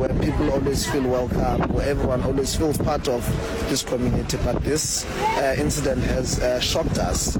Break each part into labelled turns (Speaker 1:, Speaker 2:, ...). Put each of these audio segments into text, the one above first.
Speaker 1: where people always feel welcome, where everyone always feels part of this community, but this uh, incident has uh, shocked us.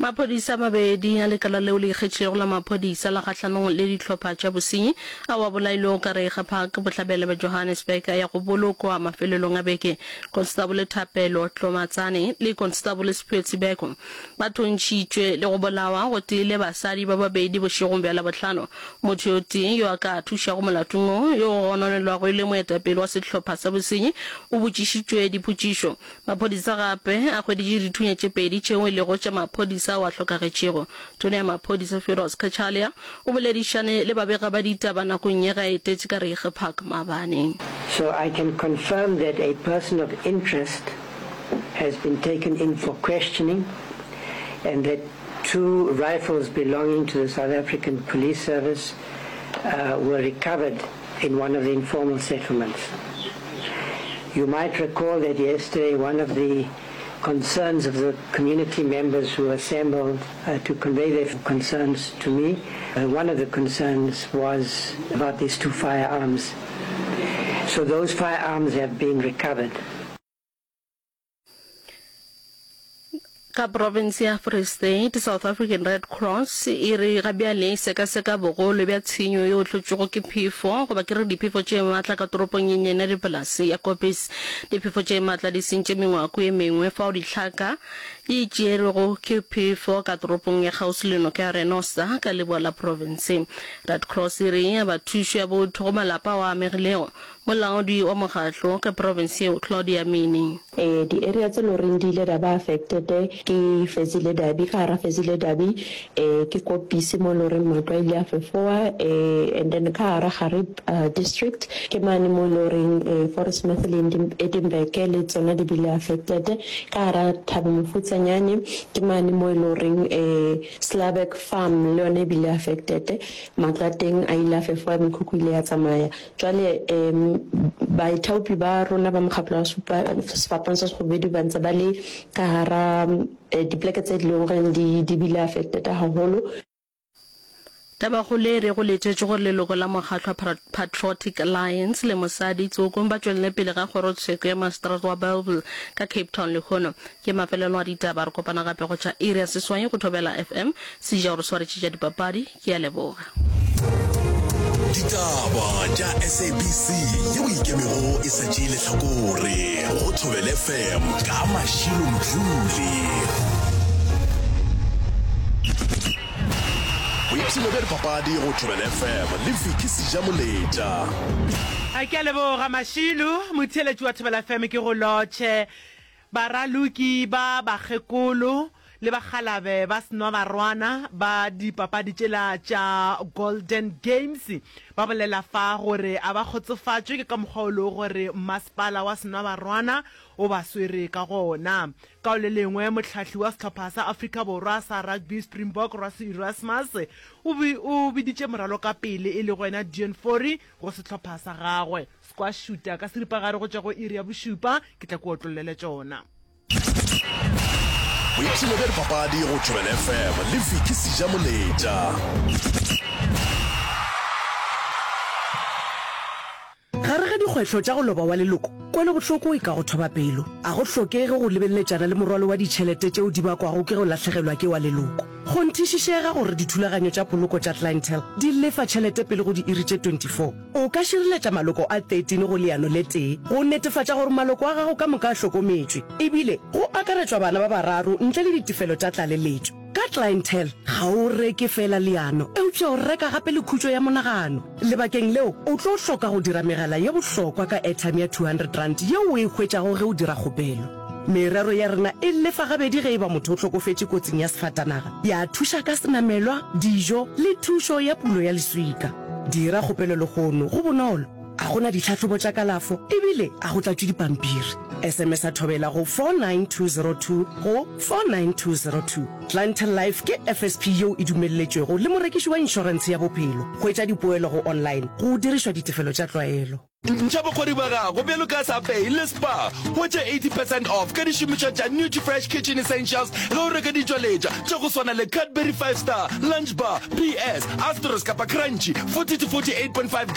Speaker 2: Maphodisa a mabedi a lekala leo le ikgetšego la maphodisa la kgahlanong le dihlopha tša bosenyi ao a bolailwego ka Reiger Park bohlabela bja Johannesburg a ya go bolokwa mafelelong a beke. Konstabole Thapelo Tlomatsane le Konstabole Siphiwe Tsibeko ba thuntšhitšwe le go bolawa gotee le basadi ba babedi bošegong bja Labohlano. Motho yo tee yo a ka thušago molatong wo, yo go gononelwago e le moetapele wa sehlopha sa bosenyi, o botšišitšwe dipotšišo. Maphodisa gape a hweditše dithunya tše pedi tšeo e lego tša maphodisa ao a hlokagetšego. Tona ya Maphodisa Firoz Cachalia o boledišane le babega ba ditaba nakong ye ge a etetše ka Reiger Park maabane.
Speaker 3: So I can confirm that a person of interest has been taken in for questioning and that two rifles belonging to the South African Police Service uh, were recovered in one of the informal settlements. You might recall that yesterday one of the concerns of the community members who assembled uh, to convey their concerns to me, uh, one of the concerns was about these two firearms. So those firearms have been recovered.
Speaker 2: Ka profense ya Free State, South African Red Cross e re ga bjale e sekaseka bogolo bja tshenyo yeo hlotšwego ke phefo goba ke re diphefo tše matla ka toropong ye nnyane ya dipolase ya Koppies. Diphefo tše matla di sentše mengwako ye mengwe fao dihlaka di tšerwego ke phefo ka toropong ya kgauswi le noka ya Renoster ka leboa la profense. Red Cross e re e aba thušo ya botho go malapa ao a amegilego. Molaodi wa mokgatlo ka profense yeo, Claudia Mini.
Speaker 4: Ee, di area tse loreng di ile da ba affected ke Fezile Dabi, ka gara Fezile Dabi ke Kopisi mo loreng matlo a ile a fefowa and then ka gara Gariep district ke mane mo loreng Fauresmith le Edinburgh le tsona di bile affected. Ka gara Thabo Mofutsanyane ke mane mo e loreng Slaberg farm le yona e bile affected, matlo a teng a ile a fefowa, mekhukhu ile ya tsamaya. Jwale baithaopi ba rona ba mokgatlo wa Sefapano sa Sekgubedu ba ntse ba le ka hara dipoleke tse leng goreng di bile affected haholo.
Speaker 2: Tabakgolo e re go letetšwe gore leloko la mokgatlo wa Patriotic Alliance le mosadi Tsoko ba tšwelele pele ga kgorotsheko ya maseterata wa Bellville ka Cape Town lehono. Ke mafelelo a ditaba, re kopana gape go tša iri ya seswai go Thobela FM. Seja o re swaretše tša dipapadi. Ke a leboga.
Speaker 5: Ditaba tša SABC yeo e ikemego e sa tšee lehlakore go Thobela FM ka Mashilo Mdluli. Boipshino bja dipapadi go Thobela FM le Vicky Sejamoletša.
Speaker 6: A ke a leboga Mashilo, motheeletši wa Thobela FM ke go lotšhe. Baraloki ba bakgekolo le bakgalabe ba senwabarwana ba dipapadi tšela tša Golden Games ba bolela fa gore a ba kgotsofatšwe ke ka mokgwa o lego gore mmasepala wa senwabarwana o ba swere ka gona. Ka go le lengwe, mohlahli wa sehlopha sa Afrika Borwa sa rugby Springbok Rassie Erasmus o o biditše moralokapele e lego yena Deon Fourie go sehlopha sa gagwe. Sekwa šuta ka seripagare go tšwa go iri ya bošupa, ke tla ke otlollele tšona.
Speaker 5: Boipshino bja dipapadi go Thobela FM le Vicky Sejamoletša.
Speaker 7: Gare ga dikgwetlho tša go loba wa leloko, kwelobohloko e ka go thoba pelo. A go hlokege go lebeleletšana le morwalo wa ditšhelete tšeo di bakwago ke go lahlegelwa ke wa leloko. Kgonthišišega gore dithulaganyo tša poloko tša Clientele di lefa tšhelete pele go diiri tše 24. O ka šireletša maloko a 13 go leano le tee go netefatša gore maloko a gago ka moka a hlokometšwe, ebile go akaretšwa bana ba bararo ntle le ditefelo tša tlaleletšo. Ka Clientele, ga o reke feela leano, eupša o reka gape le khutšo ya monagano. Lebakeng leo, o tlo hloka go dira megala ye bohlokwa ka airtime ya R200 yeo o e hwetšago ge o dira kgopelo. Merero ya rena e lefa gabedi ge e ba motho o hlokofetše kotsing ya sefatanaga, ya thuša ka senamelwa, dijo le thušo ya pulo ya leswika. Dira kgopelo lehono, go bonolo, a go na ditlhahlobo tša kalafo ebile a go tlatšwe dipampiri. SMS-a Thobela go 49202 go 49202. Clientele Life ke FSP yeo e dumelletšwego le morekiši wa inšorentshe ya bophelo. Hwetša dipoelo go online go dirišwa ditefelo tša tlwaelo.
Speaker 8: Ntšha bokgoni bja gago bjalo ka Safei le Spar. Hwetša 80 percent off ka dišomišwa tša Nutrifresh Kitchen Essentials ge o reka ditšweletšwa tša go swana le Cadbury Five Star, Lunch Bar, PS, Astros kapa Crunchy, 40 to 48.5.